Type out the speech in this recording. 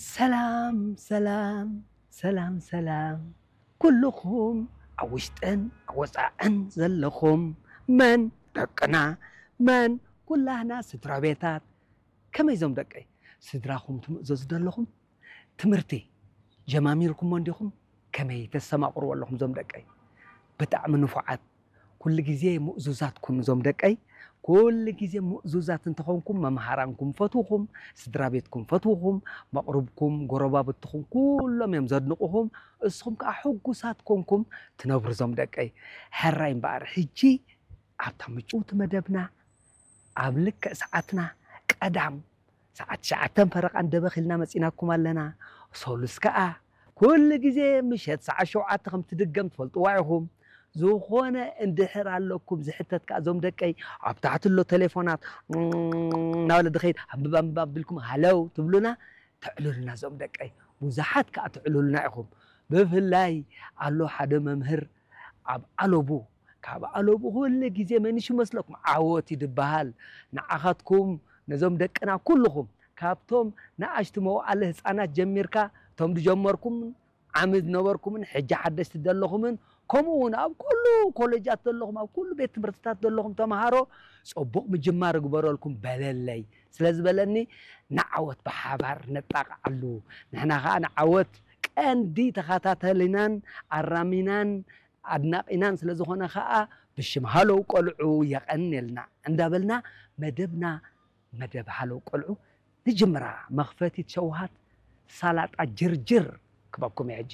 ሰላም ሰላም ሰላም ሰላም፣ ኩልኹም ኣብ ውሽጥን ኣብ ወፃዕን ዘለኹም፣ መን ደቅና፣ መን ኩላህና ስድራ ቤታት፣ ከመይ ዞም ደቀይ? ስድራኹም ትምእዘዙ ዶ ኣለኹም? ትምህርቲ ጀማሚርኩሞ እንዲኹም? ከመይ ተስተማቕርዎ ኣለኹም ዞም ደቀይ? ብጣዕሚ ንፉዓት፣ ኩሉ ግዜ ምእዙዛት ኩኑ ዞም ደቀይ። ኩሉ ግዜ ምእዙዛት እንተኾንኩም፣ መምሃራንኩም ፈትውኹም፣ ስድራ ቤትኩም ፈትውኹም፣ መቕርብኩም፣ ጎረባብትኹም ኩሎም እዮም ዘድንቑኹም። እስኹም ከዓ ሕጉሳት ኮንኩም ትነብሩ ዞም ደቀይ። ሕራይ እምበኣር ሕጂ ኣብታ ምጭውቲ መደብና ኣብ ልክዕ ሰዓትና ቀዳም ሰዓት ትሽዓተን ፈረቓን ደበኽ ኢልና መፂናኩም ኣለና። ሶሉስ ከዓ ኩሉ ግዜ ምሸት ሰዓት ሸውዓተ ከም ትድገም ትፈልጥዋ ኢኹም። ዝኾነ እንድሕር ኣለኩም ዝሕተት ከዓ ዞም ደቀይ ኣብ ታሕቲ ኣሎ ቴሌፎናት እናበለ ድኸይድ ኣንብብ ኣንብብ ኣቢልኩም ሃለው ትብሉና ተዕሉልና ዞም ደቀይ። ብዙሓት ከዓ ትዕሉልና ኢኹም። ብፍላይ ኣሎ ሓደ መምህር ኣብ ኣለቡ፣ ካብ ኣለቡ ኩሉ ግዜ መን ይሽመስለኩም ዓወት እዩ ድበሃል። ንዓኻትኩም ነዞም ደቅና ኩልኹም ካብቶም ንኣሽቱ መዋእለ ህፃናት ጀሚርካ እቶም ድጀመርኩም ዓሚ ዝነበርኩምን ሕጂ ሓደሽቲ ዘለኹምን ከምኡ እውን ኣብ ኩሉ ኮሌጃት ዘለኹም ኣብ ኩሉ ቤት ትምህርትታት ዘለኹም ተምሃሮ ፅቡቕ ምጅማር እግበረልኩም በለለይ ስለ ዝበለኒ ንዓወት ብሓባር ነጣቕዓሉ። ንሕና ከዓ ንዓወት ቀንዲ ተኸታተሊናን ኣራሚናን ኣድናቒናን ስለ ዝኾነ ከዓ ብሽም ሃለው ቆልዑ የቐንየልና እንዳበልና መደብና መደብ ሃለው ቆልዑ ንጅምራ። መኽፈቲት ሸውሃት ሳላጣ ጅርጅር ክበኩም እየ ሕጂ።